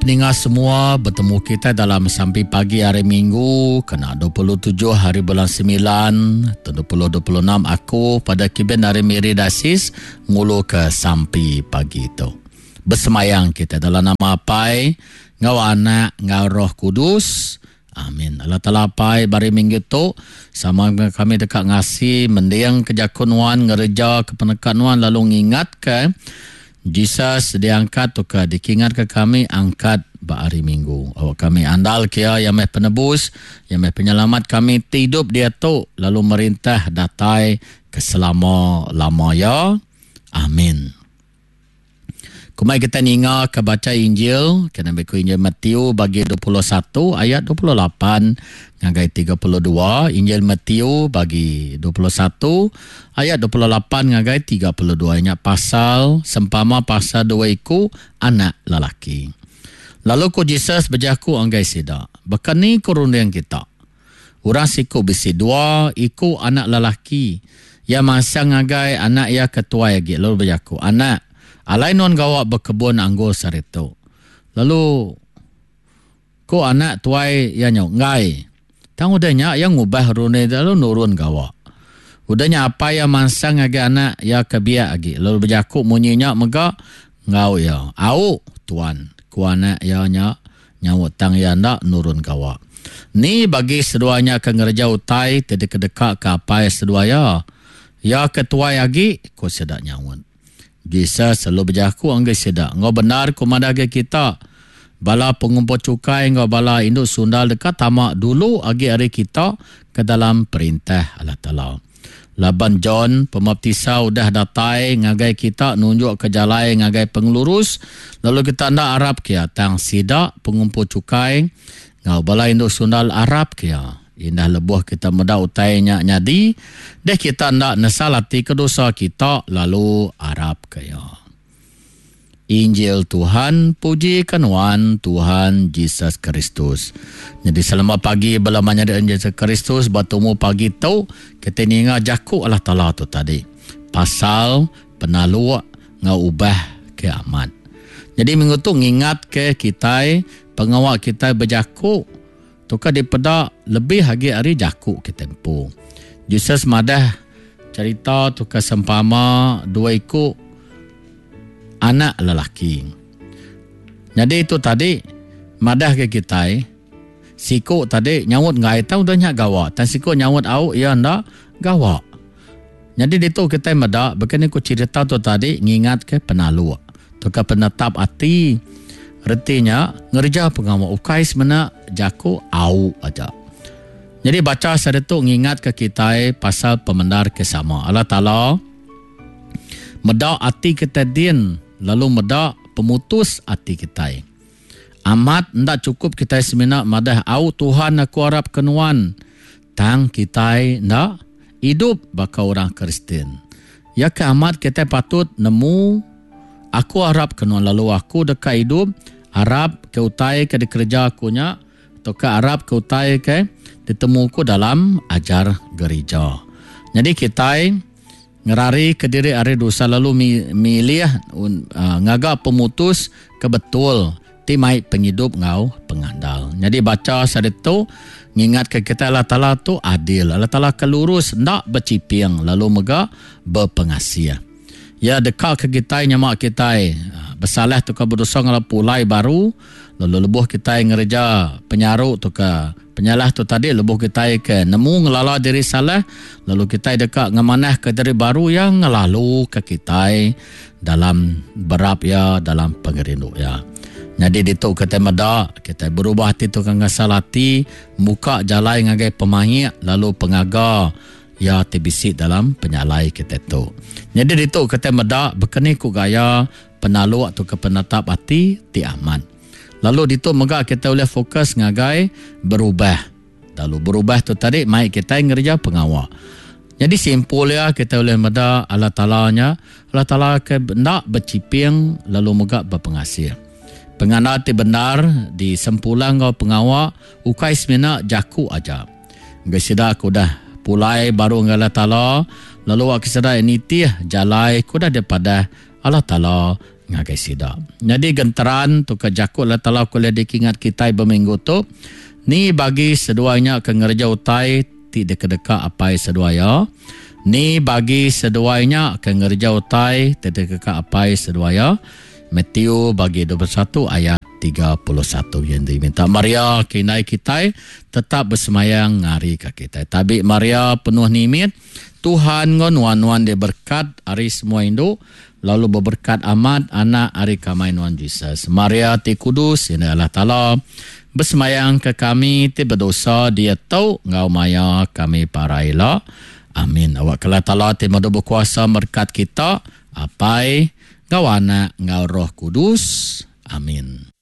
peninga semua betemu kita dalam sampi pagi hari Minggu kena 27 hari bulan 9 tahun 2026 aku pada Kiben hari Miri Dasis ngulu ke sampi pagi tu. Besemayang kita dalam nama Apai ngau Anak ngau Roh Kudus. Amin. Allah Taala Apai bari minggu tu sama kami deka ngasi mending ke jaku nuan ngereja ke peneka nuan lalu ngingat ke Jesus diangkat tauka dikingatka kami angkat ba hari Minggu. Awak kami andal ke iya, iya meh penebus, iya meh penyelamat kami ti idup diatu lalu merintah datai ke selama-lama iya. Amin. Kumai kita ninga ke baca Injil, kena beku Injil Matthew bagi 21 ayat 28 ngagai 32, Injil Matthew bagi 21 ayat 28 ngagai 32 nya pasal sempama pasal dua iku anak lelaki. Lalu ku Jesus bejaku ngagai sida, Baka ni ku runding kita? Orang siku bisi dua iku anak lelaki. Iya mansang ngagai anak iya ke tuai agi lalu bejaku, Anak, alai nuan gawa bekebun anggur sehari tu. Lalu Ku anak tuai iya nyau, Enggai. Tang udah nya iya ngubah runding lalu nurun gawa. Udah nya apai iya mansang ngagai anak iya ke biak agi lalu bejaku munyi nya mega enggau iya. Au, tuan, ku anak iya nya nyaut tang iya enda nurun gawa. Ni bagi seduai nya ke ngereja utai ti dikedekaka apai seduai iya? Iya ke tuai agi, ku sida nyaut. Jesus lalu bejaku ngagai sida, Enggau bendar ku madah ngagai kita, bala pengumpul chukai enggau bala indu sundal deka tama dulu agi ari kita ke dalam Perintah Allah Taala. Laban John Pemaptisa udah datai ngagai kita nunjukka jalai ngagai pengelurus, lalu kita enda arapka iya, tang sida pengumpul chukai enggau bala indu sundal arapka iya. Indah lebuh kita meda utai nya nyadi, deh kita enda nesal ati ke dosa kita lalu arapka iya. Injil Tuhan, puji ka nuan Tuhan Jesus Kristus. Nyadi selamat pagi bala menyadi Jesus Kristus ba tumu pagi tu kita ninga jaku Allah Taala tu tadi pasal penaluk enggau ubah ke amat. Nyadi minggu tu ngingat ke kitai pengawa kitai bejaku Tuka dipeda lebih agi ari jaku kitai empu. Jesus madah cherita tuka sempama dua iku anak lelaki. Nyadi tu tadi madah ke kitai siku tadi nyaut enggai tang udah nya gawa tang siku nyaut au iya enda gawa. Nyadi ditu kitai meda baka ni ku cherita tu tadi ngingatka penaluk tauka penetap ati reti nya ngereja pengawa ukai semina jaku au aja. Nyadi bacha saritu ngingatka kitai pasal pemendar ke sama. Allah Taala meda ati kitai din lalu meda pemutus ati kitai. Amat enda chukup kitai semina madah au Tuhan aku arapka nuan tang kitai enda idup baka orang Kristian. Ya ke amat kitai patut nemu aku arapka nuan lalu aku deka idup arap ke utai ke dikereja aku nya tauka arap ke utai ke ditemu ku dalam ajar gerija. Nyadi kitai Ngerarika diri ari dosa lalu milih ngaga pemutus ke betul ti mai pengidup enggau pengandal. Nyadi bacha saritu ngingatka kitai Allah Taala tu adil, Allah Taala ke lurus enda bechiping lalu mega bepengasih. Iya dekaka kitai nyema kitai besalah tauka bedosa enggau pulai baru lalu lebuh kitai ngereja penyaru tauka Penyalah tu tadi lebuh kitai ke nemu ngelala diri salah lalu kitai deka ngemanahka diri baru iya ngelaluka kitai dalam berap iya dalam pengerindu iya. Nyadi ditu kitai meda kitai berubah ati tu ke ngesal ati muka jalai ngagai pemaik lalu pengaga iya ti bisi dalam penyalai kitai tu. Nyadi ditu kitai meda bekeni ku gaya penaluk tauka penetap ati ti amat. Lalu ditu mega kitai ulih fokus ngagai berubah. Lalu berubah tu tadi mai kitai ngereja pengawa. Nyadi simpul iya kitai ulih meda Allah Taala nya Allah Taala ke enda bechiping lalu mega bepengasih. Pengandal ti bendar disempulang enggau pengawa ukai semina jaku aja. Enggai sida ke udah pulai baru enggau Allah Taala lalu wak ke sida nitih jalai ke udah dipadah Allah Taala. ngagai sida. Nyadi genteran tu ke jaku Allah Taala ke ulih dikingat kitai ba minggu tu, Ni bagi seduai nya ke ngereja utai ti dikedeka apai seduai iya? Ni bagi seduai nya ke ngereja utai ti dikedeka apai seduai iya? Matthew bagi 21 ayat 31. Yang diminta Maria ke indai kitai tetap besemayang ngarika kitai. Tabi Maria penuh nimit, Tuhan enggau nuan nuan diberkat ari semua indu, lalu beberkat amat anak ari kamai nuan Jesus. Maria ti kudus, indai Allah Taala, besemayang ke kami ti bedosa diatu enggau maya kami parai ila. Amin. Awak ke Allah Taala ti madu bekuasa merkat kita, Apai, enggau Anak, enggau Roh Kudus. Amin.